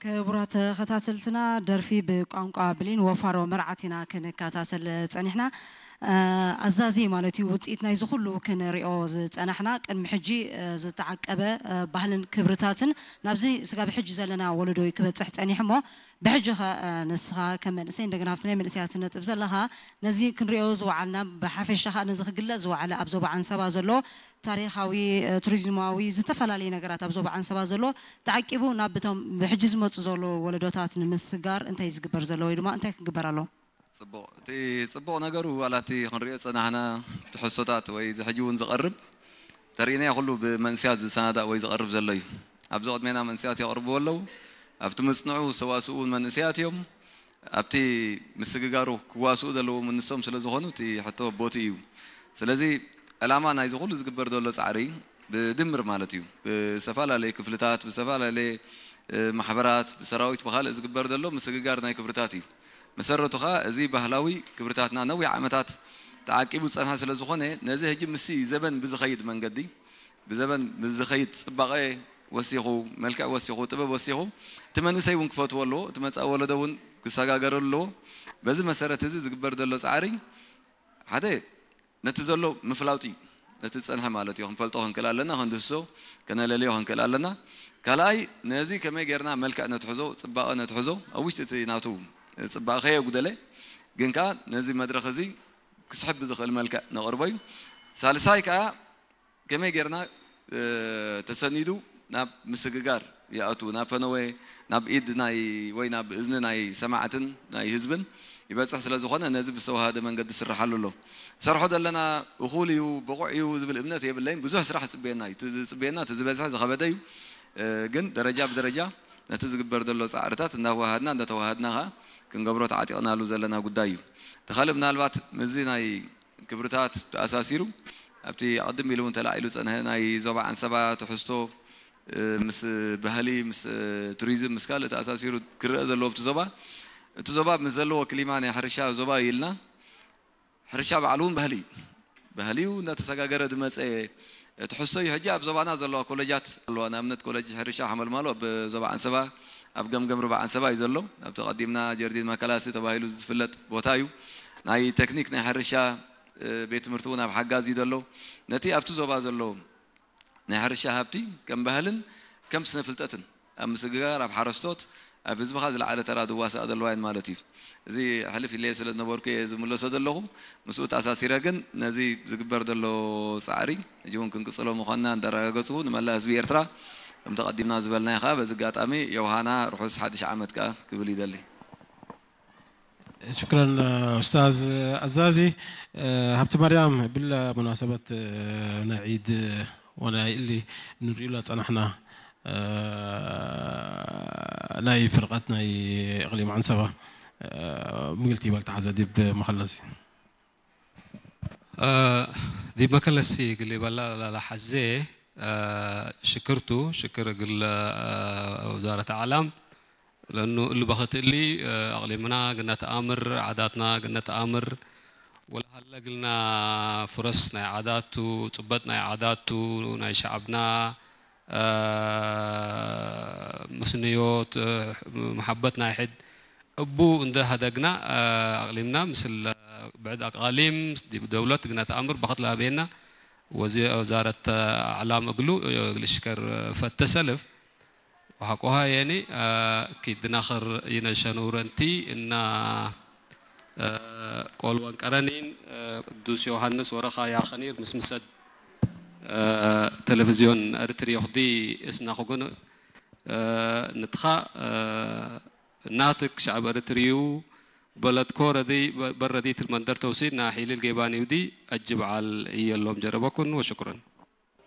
ክቡራት ተኸታተልትና፣ ደርፊ ብቋንቋ ብሌን ወፋሮ መርዓት ኢና ክንከታተል ጸኒሕና። እ፣ ኣዛዚ ማለት እዩ፣ ውጽኢት ናይዚ ኩሉ ክንሪኦ ዝጸናሕና፣ ቅድሚ ሕጂ፣ እ፣ ዝተዓቀበ፣ እ፣ ባህልን ክብርታትን ናብዚ ስጋብ ሕጂ ዘለና ወለዶ እዩ ክበጽሕ ጸኒሑ እሞ፣ ብሕጂ ኸ፣ እ፣ ንስኻ ከም መንእሰይ፣ እንደገና ኣብቲ ናይ መንእሰያት ነጥብ ዘለኻ፣ ነዚ ክንሪኦ ዝወዓልና፣ ብሓፈሻ ኸኣ ነዚ ክግለጽ ዝወዓለ ኣብ ዞባ ዓንሰባ ዘሎ ታሪኻዊ፣ እ፣ ቱሪዝማዊ፣ ዝተፈላለዩ ነገራት ኣብ ዞባ ዓንሰባ ዘሎ ተዓቂቡ ናብ እቶም ብሕጂ ዝመጹ ዘለዉ ወለዶታት ንምስጋር እንታይ ዝግበር ዘሎ ወይ ድማ እንታይ ክግበር ኣለዎ? ጽቡቕ። እቲ ጽቡቕ ነገሩ ዋላ እቲ ክንሪኦ ዝጸናሕና ትሕዝቶታት ወይ እዚ ሕጂ እውን ዝቐርብ ተርእናዮ ኩሉ ብመንእሰያት ዝሰናዳእ ወይ ዝቐርብ ዘሎ እዩ። ኣብዚ ቅድሜና መንእሰያት የቕርብዎ ኣለዉ። ኣብቲ ምጽንዑ ዝተዋስኡ እውን መንእሰያት እዮም። ኣብቲ ምስግጋሩ ክዋስኡ ዘለዎም ንሶም ስለ ዝኾኑ እቲ ሕቶ ቦቲ እዩ። ስለዚ ዕላማ ናይዚ ኩሉ ዝግበር ዘሎ ጻዕሪ ብድምር ማለት እዩ። ብዝተፈላለየ ክፍልታት፣ ብዝተፈላለየ፣ እ፣ ማሕበራት፣ ብሰራዊት፣ ብኻልእ ዝግበር ዘሎ ምስግጋር ናይ ክብርታት እዩ። መሰረቱ ኸኣ እዚ ባህላዊ ክብርታትና ነዊሕ ዓመታት ተዓቂቡ ዝጸንሐ ስለ ዝኾነ ነዚ ሕጂ ምስቲ ዘበን ብዝኸይድ መንገዲ፣ ብዘበን ብዝኸይድ ጽባቐ ወሲኹ፣ መልክዕ ወሲኹ፣ ጥበብ ወሲኹ፣ እቲ መንእሰይ እውን ክፈትዎ ኣለዎ፣ እቲ መጻኢ ወለዶ እውን ክሰጋገረሉ ኣለዎ። በዚ መሰረት እዚ ዝግበር ዘሎ ጻዕሪ ሓደ ነቲ ዘሎ ምፍላጡ እዩ። ነቲ ዝጸንሐ ማለት እዩ። ክንፈልጦ ክንክእል ኣለና፣ ክንድህስሶ፣ ከነለልዮ ክንክእል ኣለና። ካልኣይ ነዚ ከመይ ጌርና መልክዕ ነትሕዞ፣ ጽባቐ ነትሕዞ፣ ኣብ ውሽጢ እቲ ናቱ ጽባቐ ከየጉደለ፣ ግን ከኣ ነዚ መድረኽ እዚ ክስሕብ ብዝኽእል መልክዕ ነቕርቦ እዩ። ሳልሳይ ከኣ ከመይ ጌርና፣ እ፣ ተሰኒዱ ናብ ምስግጋር ይኣቱ፣ ናብ ፈነወ፣ ናብ ኢድ ናይ ወይ ናብ እዝኒ ናይ ሰማዕትን ናይ ህዝብን ይበጽሕ ስለ ዝኾነ ነዚ ብዝተዋሃደ መንገዲ ዝስርሓሉ ኣሎ። ንሰርሖ ዘለና እኹል እዩ፣ ብቑዕ እዩ ዝብል እምነት የብለይን። ብዙሕ ስራሕ ዝጽበየና እዩ። እቲ ዝጽበየና እቲ ዝበዝሐ ዝኸበደ እዩ። እ፣ ግን ደረጃ ብደረጃ ነቲ ዝግበር ዘሎ ጻዕርታት እናዋሃድና እናተዋሃድና ኸኣ ክንገብሮ ተዓጢቕናሉ ዘለና ጉዳይ እዩ። እቲ ካልእ ምናልባት ምስዚ ናይ ክብርታት ተኣሳሲሩ ኣብቲ ኣቐድም ኢሉ እውን ተላዒሉ ዝጸንሐ ናይ ዞባ ዓንሰባ ትሕዝቶ፣ እ፣ ምስ ባህሊ፣ ምስ፣ እ፣ ቱሪዝም፣ ምስ ካልእ ተኣሳሲሩ ክረአ ዘለዎ ኣብቲ ዞባ፣ እቲ ዞባ ምስ ዘለዎ ክሊማ ናይ ሕርሻ ዞባ እዩ ኢልና፣ ሕርሻ ባዕሉ እውን ባህሊ እዩ። ባህሊ እዩ፣ እናተሰጋገረ ዝመጸ ትሕዝቶ እዩ። ሕጂ ኣብ ዞባና ዘለዋ ኮለጃት ኣለዋ። ንኣብነት ኮለጅ ሕርሻ ሓመልማሎ ኣብ ዞባ ዓንሰባ፣ ኣብ ገምገም ሩባ ዓንሰባ እዩ ዘሎ። ኣብቲ ቀዲምና ጀርዲን ማካላሲ ተባሂሉ ዝፍለጥ ቦታ እዩ። ናይ ቴክኒክ ናይ ሕርሻ፣ እ፣ ቤት ትምህርቲ እውን ኣብ ሓጋዝ እዩ ዘሎ። ነቲ ኣብቲ ዞባ ዘሎ ናይ ሕርሻ ሃብቲ ከም ባህልን ከም ስነ ፍልጠትን ኣብ ምስግጋር፣ ኣብ ሓረስቶት፣ ኣብ ህዝብኻ ዝለዓለ ተራ ዝዋሳእ ዘለዋ እየን ማለት እዩ። እዚ ሕልፍ ኢለዮ ስለ ዝነበርኩ እየ ዝምለሶ ዘለኹ። ምስኡ ተኣሳሲረ ግን ነዚ ዝግበር ዘሎ ጻዕሪ ሕጂ እውን ክንቅጽሎ ምዃንና እንዳረጋገጽኩ ንመላእ ህዝቢ ኤርትራ ከምቲ ቀዲምና ዝበልናዮ ከኣ በዚ ኣጋጣሚ ዮውሃና ርሑስ ሓድሽ ዓመት ከኣ ክብል ይደሊ። شكرا أستاذ عزازي. هبت مريم بالمناسبة نعيد ونعيد اللي نريد له صنحنا ናይ ፍርቐት ናይ እቕሊም ዓንሰባ ምግልቲ ይበል ተሓዘ ዲብ መኸለሲ። ዲብ መከለሲ ግል ይበላ ላላ ሓዜ ሽክርቱ ሽክር ግል ወዛረት ኣዕላም ለኑ እሉ በኸት እሊ ኣቕሊምና ግነት ኣምር ዓዳትና ግነት ኣምር ወላ ሃለ ግልና ፍረስ ናይ ዓዳቱ ጽበጥ ናይ ዓዳቱ ናይ ሸዓብና ምስንዮት መሓበት ናይ ሕድ እቡ እንደ ሃደግና ኣቕሊምና ምስል ብዕድ ኣቃሊም ዲብ ደውለት ግነት ኣምር በኸት ለሃበየና ወዚ ወዛረት ኣዕላም እግሉ ልሽከር ፈተ ሰልፍ وحقها يعني آه، كي دناخر ينشنورنتي إن آه، قول وانقرنين آه، قدوس يوحنس ورخا ياخنير مسمسد آه، تلفزيون أرتري يخدي إسنا خقون آه، نتخا آه، ناتك شعب أرتريو بلد كورة دي ب- برة دي تلمندر توسي ناحي للجيباني ودي أجب على إيا اللوم جربكن وشكرا.